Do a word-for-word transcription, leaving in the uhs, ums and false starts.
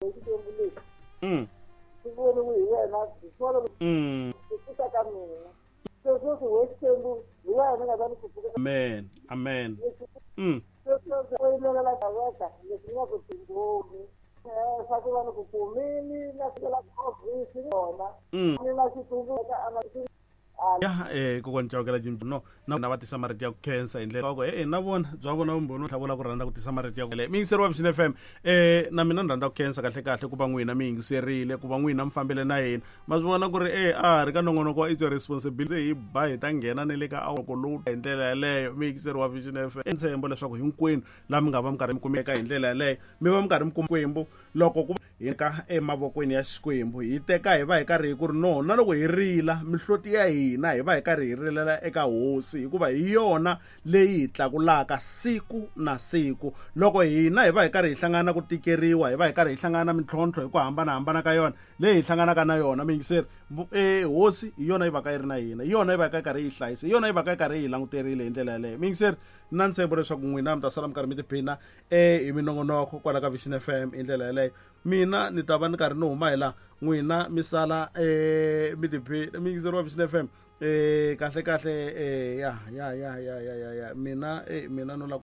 Xikwembu lexi Mm. xi voniwe hi yena hi swona Mm. ku pfuka ka mina se sweswi we Xikwembu hi wena ni nga ta ni ku pfuka. Amen, amen. Mm. Sweswi u yimelela kaveka leswi ni nga ku tingoni swa ku va ni ku kumini na fikela ofisi yona Mm. ni na xitsundzuka a Ya eh kokwani Chauke Jim no na na va tisa marito ya ku khensa hi ndlela ku eh na vona bya vona vumbhoni tlhavula ku rhandza ku tisa marito ya ku mi yingiseri wa Vision F M. eh na mina ni rhandza ku khensa kahle kahle ku va n'wina mi yingiserile, ku va n'wina mi fambile na hina. Ma swi vona ku ri eh a ri ka nongonoko wa It's Your Responsibility, hi ba hi ta nghena ne le ka awoko lowu hi ndlela yaleyo. Mi yingiseri wa Vision F M, ntshembo leswaku hinkwenu laha mi nga va mi karhi mi kumeka hi ndlela yaleyo, mi va mi karhi mi kuma Xikwembu. Loko ku hi ka emavokweni ya Xikwembu, hi teka hi va hi karhi hi ku ri no na loko hi rila mihloti ya hina, hi va hi karhi hi rilela eka hosi, hikuva hi yona leyi hi tlakulaka siku na siku. Loko hina hi va hi karhi hi hlangana ku tikeriwa, hi va hi karhi hi hlangana na mintlhontlho hi ku hambanahambana ka yona leyi hi hlanganaka na yona, miyingiseri, e hosi hi yona yi va ka yi ri na hina, hi yona yi va ka yi karhi yi hlayisa, hi yona yi va ka yi karhi yi languterile hi ndlela yaleyo. Miyingiseri, na ntshembo leswaku n'wina mi ta sala mi karhi mi tiphina e hi minongonoko kwala ka Vision F M hi ndlela yaleyo. Mina ni ta va ni karhi ni huma hi laha, n'wina mi sala um mi tiphina. Miyingiseri wa Vision F M, eh kahle kahle, eh ya ya ya ya ya ya ya mina eh mina no la.